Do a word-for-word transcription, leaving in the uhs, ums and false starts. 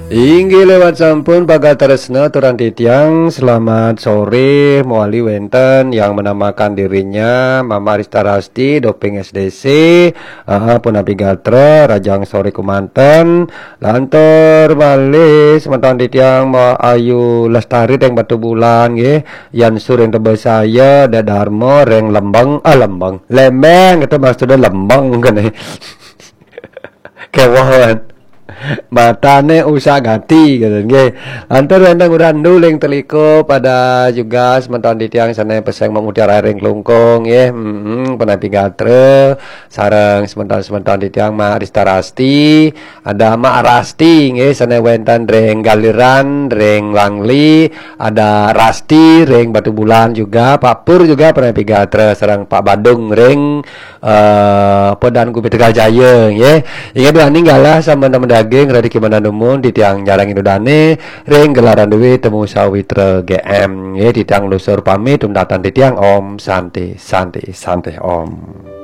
Inggih lewat sampun pagal tresna turang titiang, selamat sore, mawali wenten yang menamakan dirinya Mama Rista Rasti, doping S D C, ah, punapi gatra, rahajeng sore kumanten, lantur malih semeton titiang Ma Ayu Lestari ring Batubulan nggih, Yan Sur ring Tebesaya, Dek Darma ring Lembeng, ah, Lembeng, Lembeng, itu maksudnya Lembeng kan, eh. Kéweh. Matané usak gati, gitu, nggih. Lantur wénten Urandu ring Telikup, ada juga semeton titiang sané pesengan mutiara ring Klungkung, nggih. Mm-mm, punapi gatra, sareng semeton-semeton titiang Mak Rista Rasti, ada Mak Rasti, nggih, sané wénten ring Galiran, ring Langli, ada Rasti ring Batubulan juga, Pak Pur juga punapi gatra, sareng Pak Badung ring eh, Podan Kupi Tegal Jaya, nggih. Inggih duaning galah sampun daging, radi kimanan dumun, titiang nyarengin ida dané, ring gelaran Dewi Temu Sawitra G M, nggih, titiang nunas pamit, tuntatan titiang, Om Santi, Santi, Santi, Om.